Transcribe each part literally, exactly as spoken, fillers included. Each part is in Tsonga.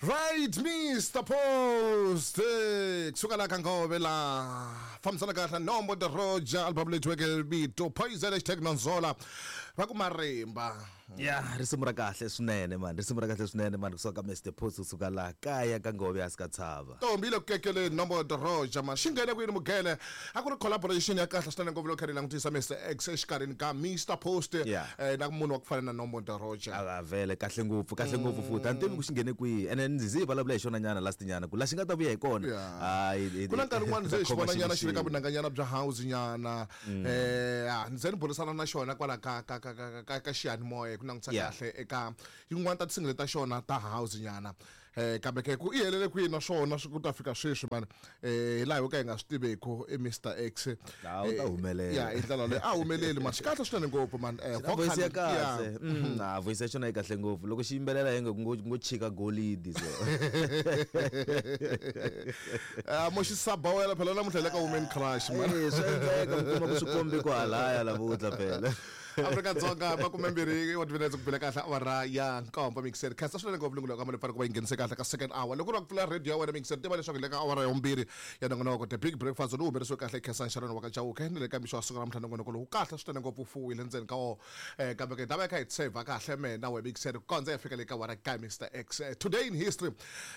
Right, Mister Post. Kusuka la ka Ngove la fambisana kahle Nombo the Roger album leyi thyiweke vito Poison hashtag Nonzola va ku marimba. Ya, risimu ra kahle swinene man, risimu ra kahle swinene man, kusuka ka Mister Post, kusuka laha kaya ka Ngove hansi ka tshava. Ntombi le ku kekeleni Nombo the Roger man, xi nghene kwini mugele a ku ri collaboration ya kahle swinene ngopfu loko kha ri langutisa Mister X exikarhini ka Mister Post Yeah. eh, na munhu wa ku fana na Nombo the Roger. A vele kahle ngopfu, kahle ngopfu futhi a ni tivi ku xi nghene kwihi, ene ndzi zi hi vulavula hi xona nyana last nyana ku la xi nga ta vuya hi kona. Yeah. Hayi, hi- Ku na nkarhi wun'wana se hi xi khoma vona nyana xilo xi le ka xin'we. vunanganyana bya house nyana, eh ah, ndzi ze ni burisana na xona kwala ka ka ka ka ka ka xiyanimoya ku langutisa Yeah. kahle eka yin'wana ta ti-single ta xona ta house nyana, eh kambe ke ku i helele kwihi na swona swi ku ta fika sweswi man, eh hi laha ho ka hi nga swi tiveku i Mister X. Ah, u ta Eh, humelela. ya hi ndlela leyi a humeleli man, xi kahle swinene ngopfu man, eh Xi na voice ya vocal, yeah. kahle. Mm, ah, voice ya xona yi kahle ngopfu loko xi yimbelela hi nga ngo ngo chika golidi so. Ah, mo xi sabawela phela namuntlha hi le ka Women Crush man. Eh, swa endleka mi kuma ku swi kombi ku halaya lavutlha phela. Afrika Dzonga makume mbirhi wa timinetse ku bile kahle awara ya nkombo mixer khensa swinene ngopfu lungulo ka mali fanele ku va yi nghenise kahle ka second hour loko u ri ku pfula radio ya wena mixer tiva leswaku hi le ka awara ya vumbirhi ya nongonoko The Big Breakfast lowu humelerisiwe kahle Khensa Sharon wa ka Chauke ni le ka mixo wa siku ra namuntlha nongonoko lowu kahle swinene ngopfu wu fuwile ndzeni ka wona, eh kambe ke ta va yi kha hi tsheva kahle me na we mixer ku kondza hi fika le ka awara ka Mister X. Eh, today in history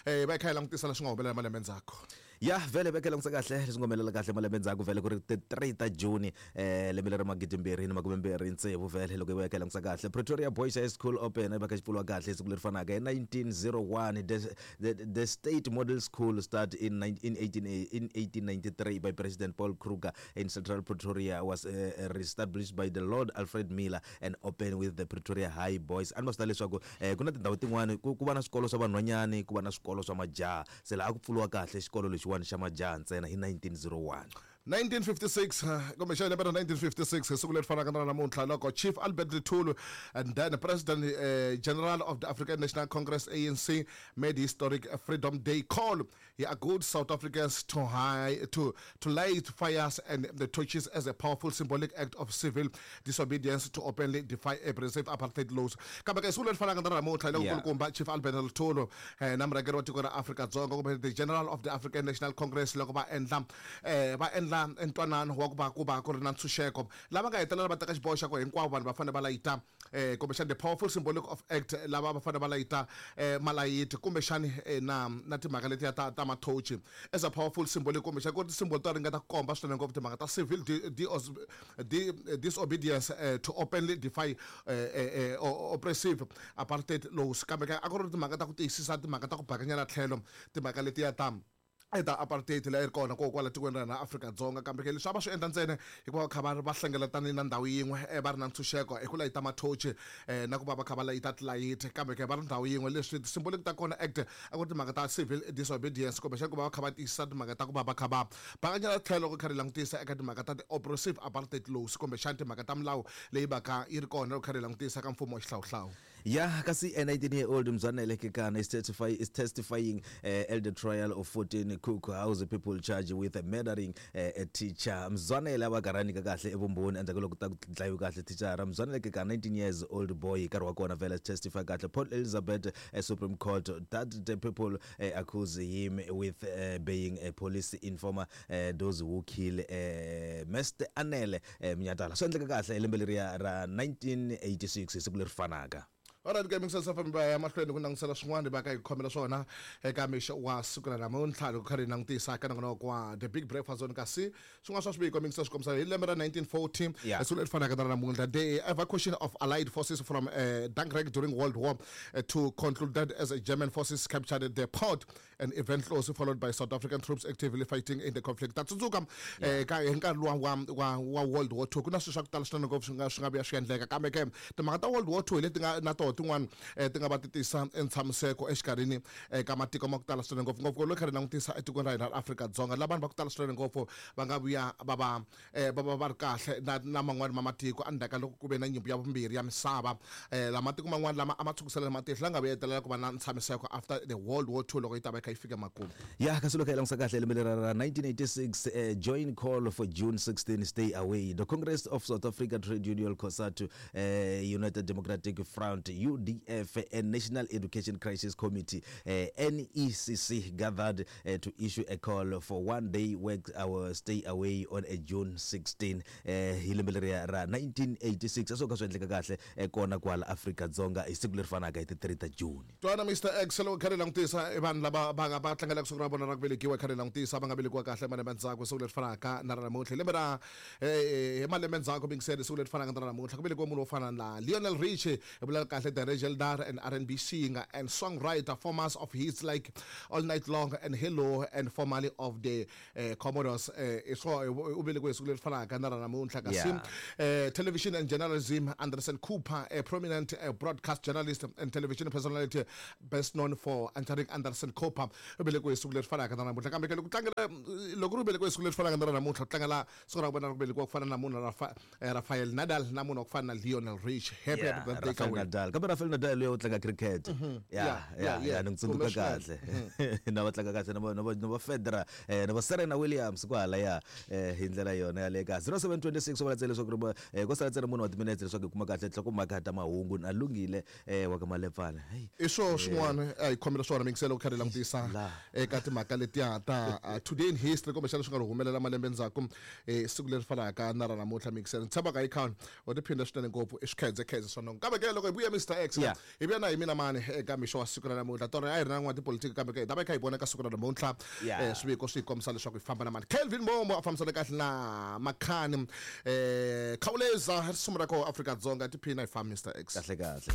eh va yi kha hi langutisa leswi nga humelela malembe ndzhaku. Ya vhele veke langutisa kahle leswi nga humelela kahle malembe ndzhaku vhele ku ri ti three ta June eh lembe leri magidi mbirhi ni makume mbirhi tsevu vhele loko hi veka langutisa kahle Pretoria Boys High School Open va kha xi pfuriwa kahle siku leri fanaka hi nineteen zero one the, the, the State Model School start in nine, in eighteen, in eighteen ninety-three by President Paul Kruger in Central Pretoria was, uh, reestablished by the Lord Alfred Miller and opened with the Pretoria High Boys. A ni ma swi tiva leswaku, eh, ku na tindhawu tin'wani ku, ku va na swikolo swa vanhwanyani, ku va na swikolo swa majaha, se laha ku pfuriwa kahle xikolo lexiwani xa majaha ntsena hi nineteen zero one. nineteen fifty-six, kumbe xana lembe ra nineteen fifty-six hi siku leri fanaka na namuntlha loko Chief Albert Luthuli and then President, eh, General of the African National Congress A N C made historic Freedom Day call. He urged South Africans to high, to, to light fires and the torches as a powerful symbolic act of civil disobedience to openly defy oppressive apartheid laws. Kambe ke siku leri fanaka na namuntlha loko Yeah. kulukumba Chief Albert Luthuli, eh, na murhangeri wa tiko ra Afrika Dzonga kumbe the General of the African National Congress loko va endla, eh, va endla ntwanano wa ku va ku va ku ri na ntshunxeko lava nga hetelela va teka xiboho xa ku hinkwavo vanhu va fanele va layita, eh, kumbexana the powerful symbolic of act lava va fanele va layita, eh, malayiti kumbexani, eh, na, na timhaka letiya ta, ta mathochi as a powerful symbolic kumbexana ku ri ti-symbol to ringeta ku komba swinene ngopfu timhaka ta civil di-, di-, di-, disobedience, eh, to openly defy, eh, eh, eh, o-, oppressive apartheid laws. Kambe ka a ku ri timhaka ta ku tiyisisa timhaka ta ku bakanyela tlhelo timhaka letiya ta eta apartheid leyi ri kona ko kwala tikweni ra hina Afrika Dzonga. Kambe ke leswi a va swi endla ntsena hikuva va kha va va hlengeletane na ndhawu yin'we, eh, va ri na ntshunxeko hi ku layita mathochi, eh, na ku va va kha va layita tilayiti, kambe ke va ri ndhawu yin'we. Leswi ti-symbolic ta kona act a ku ri timhaka ta civil disobedience kumbexana ku va va kha va tiyisisa timhaka ta ku va va kha va bakanyela tlhelo ku kha ri langutisa eka timhaka ta ti-oppressive apartheid laws kumbexana timhaka ta milawu leyi va ka yi ri kona loko kha ri langutisa ka mfumo wa xihlawuhlawu. Ya kasi a nineteen year old Mzwanele Kekana is testify-, is testifying, eh, at the trial of fourteen Cook House people charged with murdering, eh, a teacher. Mzwanele a va karhani ka kahle evumbhoni endzhaku loko ta ku dlayiwe kahle thichara. Mzwanele Kekana, nineteen years old boy, nkarhi wa kona vhele testify kahle Port Elizabeth, eh, Supreme Court that the people, eh, accuse him with, eh, being a police informer, eh, those who kill, eh, Mister Anele, eh, Mnyatala. Swi endleka kahle hi lembe leriya ra nineteen eighty-six hi siku leri fanaka. Alright, ke Mixer F M ba ya mahlweni ku langutisela swin'wana va ka hi khomela swona eka mixo wa siku ra namuntlha loko kha ri langutisa ka nongonoko wa The Big Breakfast Zone. Kasi swin'wana swa swiviko Mixer swi kombisa hi lembe ra nineteen forty, Yeah. siku leri fanaka na namuntlha, the evacuation of Allied forces from, uh, Dunkirk during World War Two concluded as German forces captured the port, an event closely followed by South African troops actively fighting in the conflict. Ta tsundzuka, Yeah. eh, ka hi nkarhi luwa wa, wa, wa World War Two ku na swilo swa ku tala swinene ngopfu swi nga, swi nga vuya swi endleka, kambe ke timhaka ta World War Two hi leti nga na toho tin'wana, eh, ti nga va ti tisa ntshamiseko exikarhini, eh, ka matiko ma ku tala swinene ngopfu ngopfu loko kha ri langutisa etikweni ra hina ra Afrika-Dzonga, laha vanhu va ku tala swinene ngopfu va nga vuya va va, eh, va va va ri kahle na, na man'wani ma matiko endzhaku ka loko ku ve na nyimpi ya vumbirhi ya misava. Eh, la matiko man'wani lama a ma tshukiselana matihlo la nga vuya hetelela ku va na ntshamiseko after the World War Two loko yi ta va yi kha yi fika makumu. Ya, kasi loko hi langutisa kahle lembe leri ra nineteen eighty-six, eh, join call for June sixteen stay away. The Congress of South Africa Trade Union COSATU, eh, United Democratic Front U D F and National Education Crisis Committee uh, N E C C gathered uh, to issue a call for one day work our stay away on a June sixteenth hi lembe leriya ra nineteen eighty-six. A swo ka swi endleka kahle kona kwala Afrika Dzonga hi siku leri fanaka hi ti three ta June. Twana Mister X loko kha ri langutisa i vanhu lava va nga va tlangelaka siku ra vona ra ku velekiwa kha ri langutisa va nga velekiwa kahle malembe ndzhaku siku leri fanaka na ra namuntlha. Lembe ra hi malembe ndzhaku mingisele siku leri fanaka na ra namuntlha ku velekiwa munhu wo fana na Lionel Richie, hi vula kahle the legendary and R and B singer and songwriter, formers of hits like All Night Long and Hello and formerly of the uh, Commodores. Uh, so u velekiwe siku leri fanaka na ra namuntlha. Kasi uh, television and journalism, Anderson Cooper, a prominent uh, broadcast journalist and television personality best known for anchoring Anderson Cooper, u velekiwe siku leri fanaka na namuntlha. Kambe loko tlangela loko ri velekiwe siku leri fanaka na namuntlha ku tlangela siku ra vona ra ku velekiwa ku fana na munhu Rafa, Rafael Nadal na munhu wa ku fana na Lionel Richie. Happy yeah, birthday Rafael Nadal. Kambe Rafael Nadal loyi u tlanga cricket. Yeah, yeah, yeah, ni tsundzuka kahle. Na va tlanga kahle na va na va Federer, na va Serena Williams kwala ya hi ndlela yona ya le ka zero seven two six va tsele leswaku ri ko sala tsena munhu wa timinetse leswaku hi kuma kahle nhlokomhaka ta mahungu na lunghile wa ka Malepfana. I swo swin'wana a hi khomela swona mingiselo ku kha ri langutisa eka timhaka letiya ta today in history kumbexana swi nga ri humelela malembe ndzhaku siku leri fanaka na ra namuntlha mingiselo. Ni tshembaka hi khani u tiphinda swinene ngopfu i swikhedzekhedze swa nongo. Kambe ke loko hi vuya Mister X hi vuya na hi mina mani eka mixo wa siku ra namuntlha. Tona a hi ri na n'wana tipolotiki kambe ke hi ta va hi kha hi vona ka siku ra namuntlha swiviko swi hi kombisa leswaku hi famba na mani. Kelvin Momo a fambisana kahle na Makhani Khawuleza risimu ra koho Afrika-Dzonga tiphina hi famba Mister X. Kahle kahle.